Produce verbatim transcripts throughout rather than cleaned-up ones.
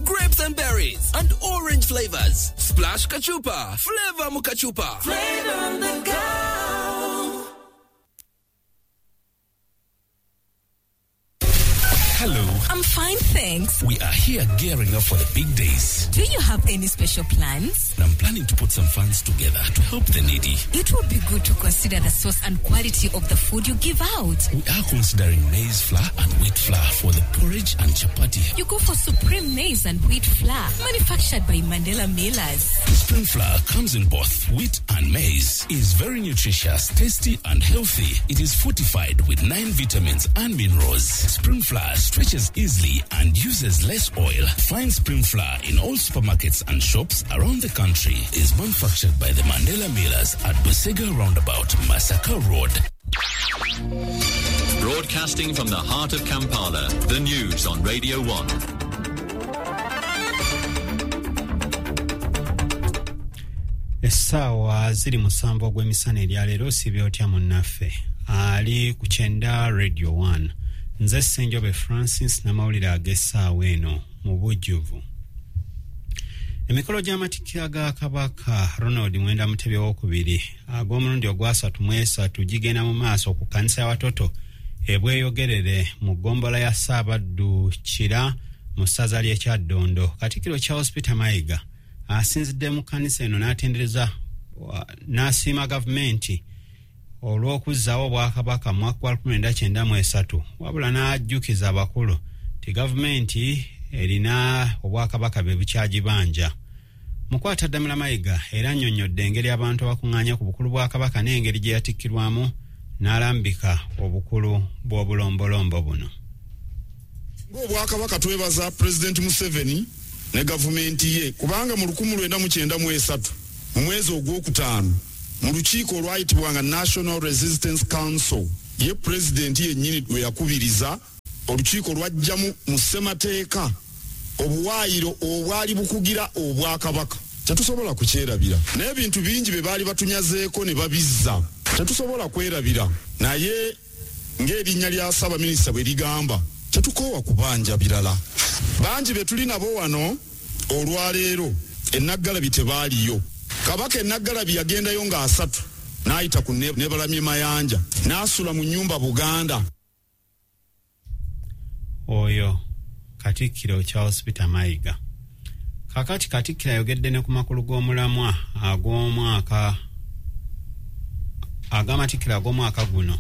Grapes and berries, and orange flavors. Splash Kachupa. Flavor Mukachupa. Flavor on the go. Hello. I'm fine, thanks. We are here gearing up for the big days. Do you have any special plans? I'm planning to put some funds together to help the needy. It would be good to consider the source and quality of the food you give out. We are considering maize flour and wheat flour for the porridge and chapati. You go for Supreme Maize and Wheat Flour, manufactured by Mandela Millers. Supreme Flour comes in both wheat and maize. Is very nutritious, tasty and healthy. It is fortified with nine vitamins and minerals. Supreme Flour stretches easily and uses less oil. Find Supreme Flour in all supermarkets and shops around the country. Is manufactured by the Mandela Millers at Busega Roundabout, Masaka Road. Broadcasting from the heart of Kampala, the news on Radio one. Essaawa ziri musanvu ogw'emisana eryaleero osibye otya munnaffe ali ku kyenda Radio one. Nze Ssenjobe Francis n'amawulire ag'essaawa eno mu bujjuvu. Emikolo gy'amatikkira ga Kabaka Ronald Mwenda Mutebi owookubiri ag'omulundi ogwasatu mu esatu gigenda mu maaso ku kkanisa ya Watoto e Bweyogerere mu ggombolola ya Ssaabaddu Kira mu ssaza ly'e Kyaddondo. Katikkiro Charles Peter Mayiga asinzidde mu kkanisa eno n'atendereza n'asiima gavumenti olw'okuzzaawo Obwakabaka mu mwaka gwa lukumi lwenda kyenda mu esatu, wabula n'ajjukiza abakulu nti gavumenti erina Obwakabaka bwe bukyagibanja. Mukwataddamula Mayiga era annyonnyodde engeri abantu abakuŋŋaanya ku bukulu bwa Kabaka n'engeri gye yatikkirwamu n'alambika obukulu bw'obulombolombo buno. Ng'Obwakabaka twebaza Pulezidenti Museveni ne gavumenti ye, kubanga mu lukumi lwenda mu kyenda mu esatu mu mwezi ogwokutaano mu lukiiko olwayitibwanga National Resistance Council, ye pulezidenti yennyini lwe yakubiriza olukiiko lwajjamu mu ssemateeka obuwaayiro obwali bukugira Obwakabaka. Tetusobola kukyerabira, n'ebintu bingi bye baali batunyazeeko ne babizza, tetusobola kwerabira. Naye ng'erinnya lya Ssaabaminisita bwe ligamba, tetukoowa kubanja birala. Bangi be tuli nabo wano olwaleero Ennaggalabi tebaaliyo. Kabaka Ennaggalabi yagendayo nga asatu n'ayita ku Nebalamye Mayanja n'asula mu nnyumba Buganda. Oyo Katikkiro Charles Peter Mayiga. Kakati Katikkiro ayogedde ne ku makulu g'omulamwa ag'omwaka ag'amatikkiro ag'omwaka guno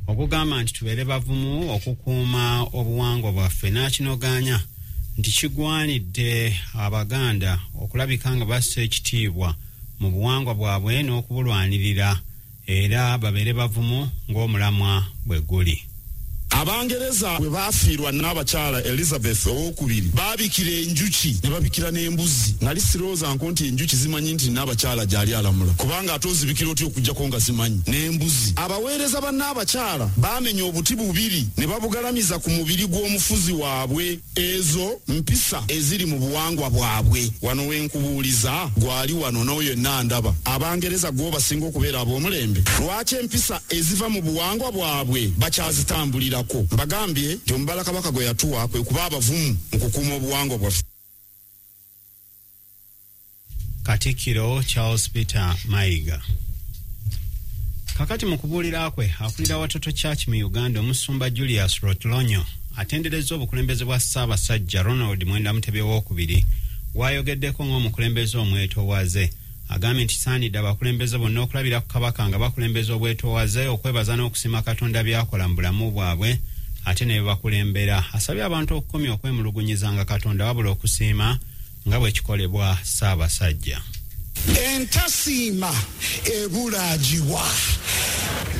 ogugamba nti tubeere bavumu okukuuma obuwangwa bwaffe, n'akinogaanya nti kigwanidde Abaganda okulabika nga bassa ekitiibwa mu buwangwa bwabwe n'okubulwanirira era babeere bavumu ng'omulamwa bwe guli. Abangereza bwe baafiirwa n'abakyala Elizabeth owookubiri baabikira enjuki ne babikira n'embuzi. Nali sirowooza nko nti enjuki zimanyi nti n'abakyala gy'ali alamula, kubanga ate ozibikira otya okuggyako nga zimanyi n'embuzi. Abaweereza ba n'abakyala baamenya obuti bubiri ne babugalamiza ku mubiri gw'omufuzi waabwe. Ezo mpisa eziri mu buwangwa bwabwe. Wano we nkubuuliza gwali wano n'oyo yenna ndaba Abangereza gwo basinga okubeera ab'omulembe. Lwaki empisa eziva mu buwangwa bwabwe bakyazitambulira? Mbagambye nti omubala Kabaka gwe yatuwa kwe kuba abavumu mu kukuuma obuwangwa bwaffe. Katikkiro Charles Peter Mayiga. Kakati mu kubuulira kwe akulira Watoto Church mu Uganda omusumba Julius Rotlonyo atenderezza obukulembeze bwa Ssaabasajja Ronald Mwenda Mutebi owookubiri w'ayogeddeko ng'omukulembeze omwetoowaze. Agambye nti kisaanidde abakulembeze bonna okulabira ku Kabaka nga bakulembeza obwetoowaze, okwebaza n'okusiima Katonda by'akola mu bulamu bwabwe ate ne bakulembera. Asabye abantu okukomya okwemulugunyizanga Katonda wabula okusiima nga bwe kikolebwa Ssaabasajja. Entasiima ebulaagiwa.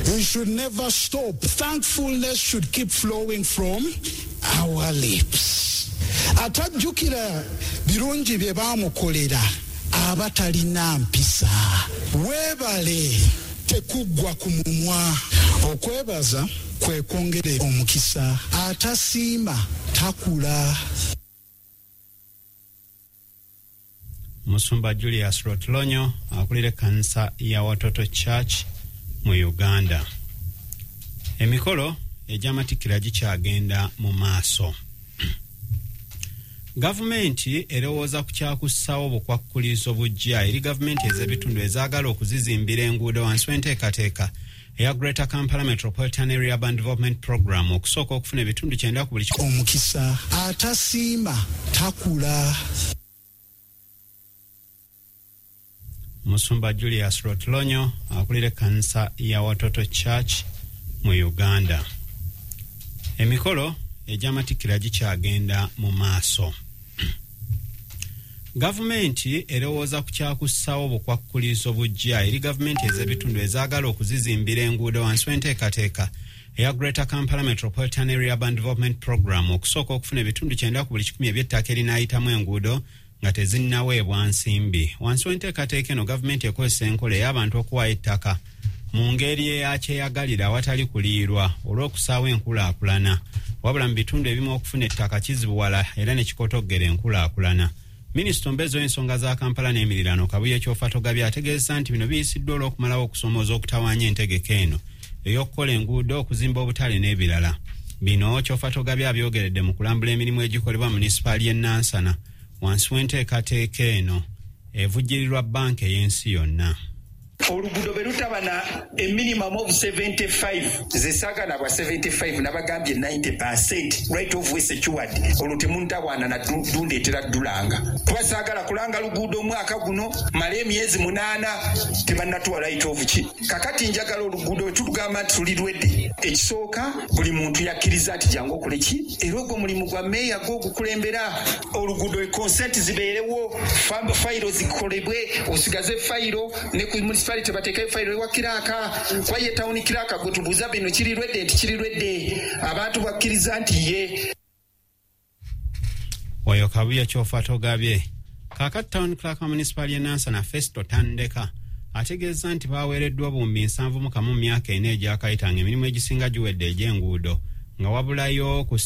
We should never stop. Thankfulness should keep flowing from our lips. Atajjukira birungi bye baamukolera aba talina mpisa. Weebale tekuggwa ku mumwa. Okwebaza kwe kwongera omukisa. Atasiima takula. Musumba Julius Rotlonyo akulira ekkanisa ya Watoto Church mu Uganda. Emikolo egy'amatikkira gikyagenda mu maaso. Gavumenti erowooza ku kyakussaawo obukwakkulizo bujja eri gavumenti ez'ebitundu ezaagala okuzizimbira enguudo wansi w'enteekateeka eya Greater Kampala Metropolitan Area Urban Development Program okusooka okufuna ebitundu kyenda ku buli omukisa atasiima takula. Musumba Julius Rotlonyo akulira ekkanisa ya Watoto Church mu Uganda. Emikolo egy'amatikkira gikyagenda mu maaso. Gavumenti erowooza ku kyakussaawo obukwakkulizo bujja eri gavumenti ez'ebitundu ezaagala okuzizimbira enguudo wansi w'enteekateeka eya Greater Kampala Metropolitan Area Urban Development Program okusooka okufuna ebitundu kyenda ku buli kikumi eby'ettaka erinaayitamu enguudo nga tezinnaweebwa nsimbi. Wansi w'enteekateeka eno gavumenti ekozesa enkola ey'abantu okuwaayo ettaka mu ngeri eyakyeyagalira awatali kuliirwa olw'okusaawo enkulaakulana. Wabula mu bitundu ebimu okufuna ettaka kizibuwala era ne kikotoggera enkulaakulana. Minisita omubeezi w'ensonga za Kampala n'emiriraano Kabuye Kyofatogabye ategeezezza nti bino biyisiddwa olw'okumalawo okusoomooza okutawaanya entegeka eno ey'okukola enguudo, okuzimba obutale n'ebirala. Bino Kyofatogabye abyogeredde mu kulambula emirimu egikolebwa munisipaali y'e Nansana wansi w'enteekateeka eno evujjirirwa bbanka ey'ensi yonna. Oluguudo bwe lutaba na a minimum of seventy-five, ze saagala bwa seventy-five, nabagambye ninety percent right of way secured, olwo temuntawaana na dundeetera ddulanga, kuba saagala kulanga luguudo omwaka guno male emyezi munaana tebannatuwa right of ki. Kakati njagala oluguudo wetulugamba nti tuli lwedde, ekisooka buli muntu yakkiriza nti jangu okole ki, era ogwo mulimu gwa meeya gwo ogukulembera oluguudo, consent zibeerewo, fayiro zikolebwe, osigaze fayiro ne ku municipality bateekayo fayiro ewa kiraaka, kuba ye tawuni kiraaka gwe tubuuza bino kiri lwedde nti kiri lwedde, abantu bakkiriza nti ye. Oyo Kabuye Kyofatogabye. Kaakati Town Clerk wa munisipaali y'e Nansana Festo Tandeka ategeeza nti baweereddwa obuwumbi nsanvu mu kamu mu myaka ena egyakayita ng'emirimu egisinga giwedde egy'enguudo nga wabulayo ku